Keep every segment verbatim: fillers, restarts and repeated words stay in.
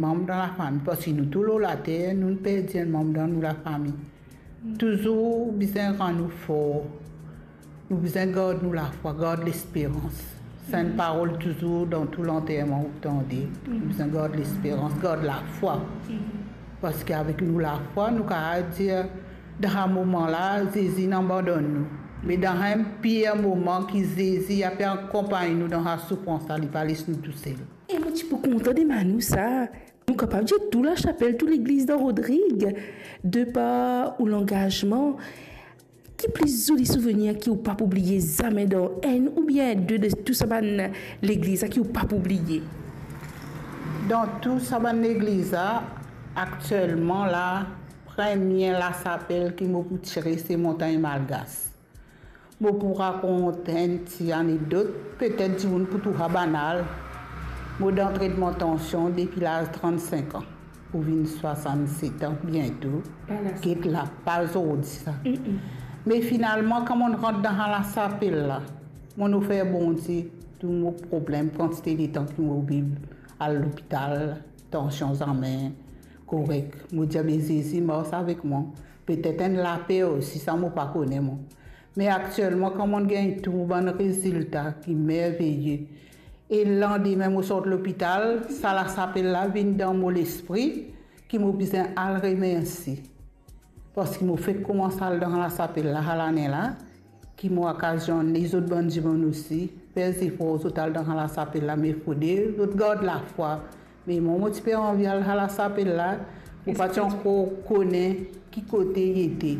manm dan lafami, parski nou tou lor later, nou perdi enn manm dan nou lafami. Touzour bizin rann nou for. Nou bizin gard nou lafwa, gard lesperans. Sa enn parol touzour dan tou lanterman ou tande. Nou bizin gard lesperans, gard lafwa. Parski avek nou lafwa, nou kapav dir, dan sa moman la, Zezi inn abandonn nou. Me dan sa enn pir moman ki Zezi ape akonpagn nou dan sa soufrans la, li pa les nou tousel. E mo ti pou kontan demann ou sa, nou kapav dir tou lasapel, tou legliz dan Rodrig, de par ou langazman, ki pli zoli souvenir ki ou pa pou bliye zame dan enn oubien de, de tou sa bann legliz la ki ou pa pou bliye? Dan tou sa bann legliz la, aktielman la, premie lasapel ki mo pou tire, se Montagn Malgas. Mo pou rakont enn ti anekdot, petet dimoun pou trouv sa banal. Mo dan tretman tansion depi laz trannsenk an, pou vinn swasannset an biento. Get la, pa zordi sa. Me finalman, kan mo'nn rant dan sa lasapel la, mo'nn ofer Bondie tou mo problem, kantite letan ki mo oubli al lopital, tansion zame korek. Mo dir, "Be Zezi, mars avek mwa." Petet enn laper osi, sa mo pa kone mwa. Me aktielman, kan mo'nn gagn tou bann rezilta ki merveye, e landime mo sort lopital, sa lasapel la vinn dan mo lespri ki mo bizin al remersie. Parski mo fek koumans al dan lasapel la, sa lane la, ki mo akazione lezot bann dimoun osi fer zefor zot al dan lasapel la, me fode zot gard lafwa. Me mwa, mo ti pe anvi al sa lasapel la, mo pa ti ankor kone ki kote li ete.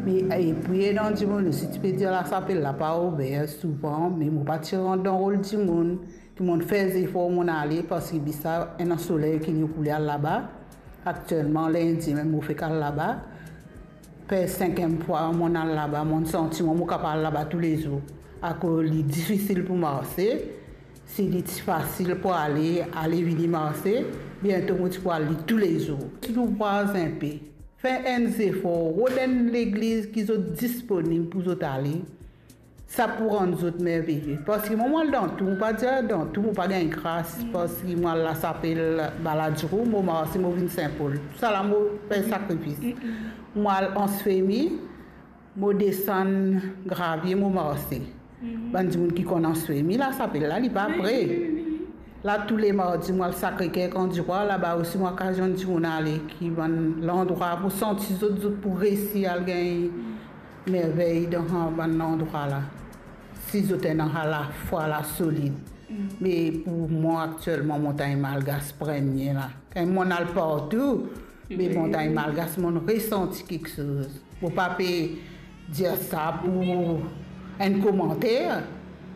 Me, epi ena dimoun osi ti pe dir lasapel la pa ouver souvan, me mo pa ti rant dan rol dimoun, ki mo'nn fer zefor mo'nn ale, parski bizin ena soley ki inn koule al laba. Aktielman, lindi mem mo fek al laba. Per senkiem fwa mo'nn al laba, mo'nn santi mwa mo kapav al laba toulezour. Akoz li difisil pou marse, si li ti fasil pou ale, ale vini marse, biento mo ti pou al li toulezour. Ti louvraz inpe, fer enn zefor, rod enn legliz ki zot disponib pou zot ale, sa pou rann zot merveye. Parski mwa, mo al dan tou, mo pa dir dan tou mo pa gagn gras, parski mo al lasapel Baladiro, mo marse, mo vinn Sin Pol. Tousala mo fer sakrifis. Mo al Ansfemi, mo desann gravie, mo marse. Bann dimoun ki konn Ansfemi, lasapel la, li pa pre. La, tou le mardi, mo al Sakre-Ker, Kan-di-Rwa, laba osi mo akazione dimoun ale, ki bann landrwa pou santi zot, zot pou resi al gagn mervey dan sa bann landrwa la, si zot ena sa lafwa la solid. Me pou mwa, aktielman, Montagn Malgas premie la. Kan mo'nn al partou, me Montagn Malgas, mo'nn resanti kiksoz. Mo pa pe dir sa pou enn komanter,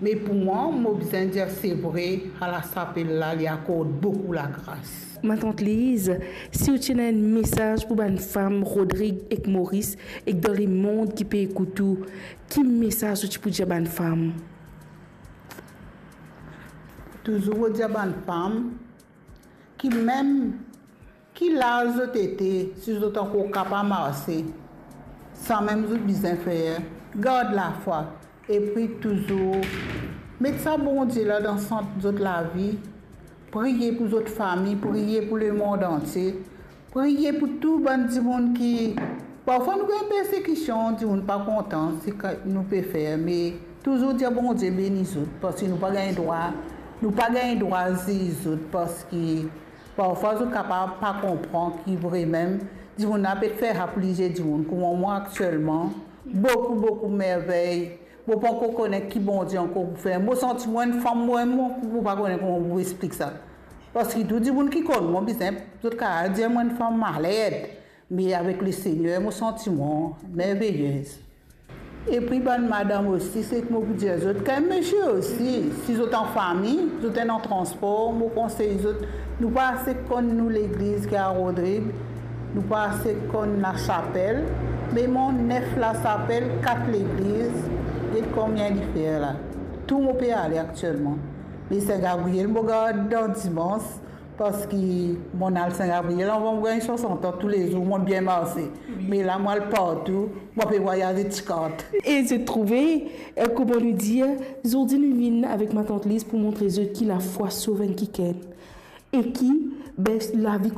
me pou mwa, mo bizin dir se vre, sa lasapel la, li akord boukou lagras. Matant Liz, si ou ti ena enn mesaz pou bann fam Rodrig ek Moris ek dan lemond ki pe ekout ou, ki mesaz ou ti pou dir bann fam? Touzour mo dir bann fam ki mem ki laz zot ete, si zot ankor kapav marse, samem zot bizin fer, gard lafwa, epi touzour met sa Bondie la dan sant zot lavi, priye pou zot fami, priye pou lemond antie, priye pou tou bann dimoun ki, parfwa nou gagn persekision, dimoun pa kontan seki nou pe fer, me touzour dir Bondie beni zot, parski nou pa gagn drwa, nou pa gagn drwa ziz zot, parski parfwa zot kapav pa konpran ki vremem dimoun la pe fer sa pou lizie dimoun. Kouma mwa aktielman, boukou, boukou mervey. Mo pa ankor kone ki Bondie ankor pou fer. Mo santi mwa enn fam, mwa, mo, mo pa kone kouma pou explik sa. Parski tou dimoun ki konn mwa bizin, zot kapav dir mwa enn fam malad. Me avek Lesegner, mo santi mwa merveyez. Epi bann madam osi, seki mo pou dir zot, kan misie osi, si zot an fami, zot ena transpor, mo konsey zot, nou pa ase konn nou legliz ki a Rodrig, nou pa ase konn lasapel, me mwa nef lasapel, kat legliz, get konbien li fer la. Tou mo pe ale aktielman. Me Sin Gabriel, mo gard dan dimans, parski mo'nn al Sin Gabriel avan mo gagn swasant an, toulezour mo'nn bien marse. Me la mo al partou, mo pe vwayaze ti kart. E zot trouve, eh, kouma nou dir, zordi nou vinn avek Matant Liz pou montre zot ki lafwa sov enn kikenn. E ki, be, lavi